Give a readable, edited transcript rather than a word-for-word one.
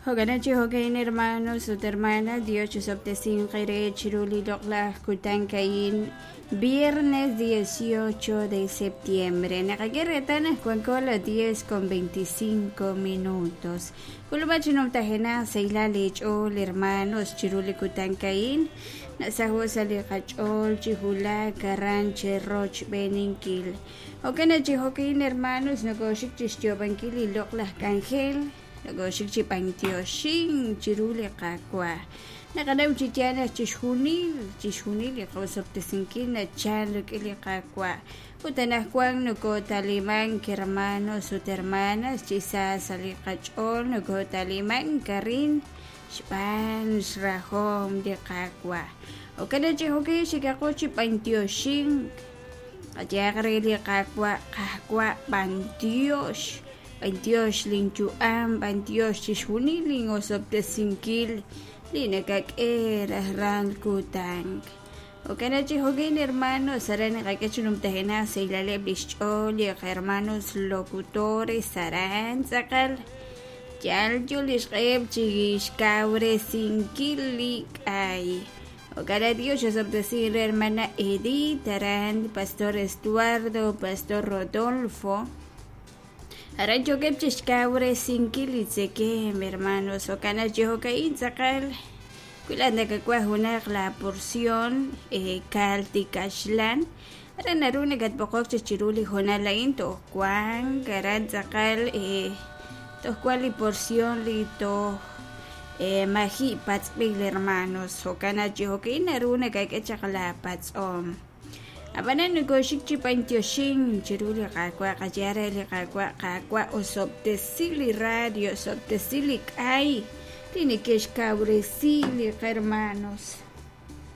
Jo'kan chi jo'kan, hermanos ut hermanas, Dios chisob'tesinq eere chiru li loq'laj kutan a'in, viernes 18 de septiembre. Naqak'e reetal naq wanko las 10 con 25 minutos. K'ulub'a chi numtajenaq sahilal eech'ool, hermanos, chiru li kutan a'in. Nasaho' sa' li qach'ool chi wulak aran cherochb'eeninkil. Jo'kan chi jo'kan, hermanos, nokoxik chixyoob'ankil li loq'laj k'anjel. Nokoxik chi b'antioxink chiru li Qaawa'. Naqanaw chi yaal naq chixjunil, chixjunil li qosob'tesinkil nachal rik'in li Qaawa'. Ut anaqwan nokotalimank, hermanos ut hermanas, chi sa sa' li qach'ool nokotalimank arin xb'aan xrahom li Qaawa'. Jo'kan chi jo'kan xikaqo chi b'antioxink. Qayehaq re li Qaawa', Qaawa', b'antiox. B'antiox linyu'am, b'antiox chixjunil lin'osob'tesinkil li nakak'e rajlal kutan. Jo'kan chi jo'kan, hermanos, aran naqak'e chi numtajenaq sahilaleb' lix ch'ool li hermanos locutores aran tz'aqal yal yo lix q'eheb' chi xkawresinkil li k'ay. Jo'kan Dios osob'tesi re hermana Edith aran, Pastor Estuardo, Pastor Rodolfo. Aran yookeb' chixkawresinkil li tzekemq, hermanos. Jo'kan chi jo'ka'in tz'aqal wi laa'at nakawaj junaq la porción kal tikaxlan, aran naru nakatb'oqok chik chiru li hoonal a'in toj wank aran tz'aqal toj wan li porción li toj maji' patz'b'il, hermanos. Jo'kan chi jo'ka'in naru nakak'e chaq la patz'om. Ab'anan nokoxik chi b'antioxink chiru li Qaawa', qayehaq re li Qaawa', Qaawa', osob'tesi li radio, osob'tesi li k'ay li neke'xkawresi li hermanos.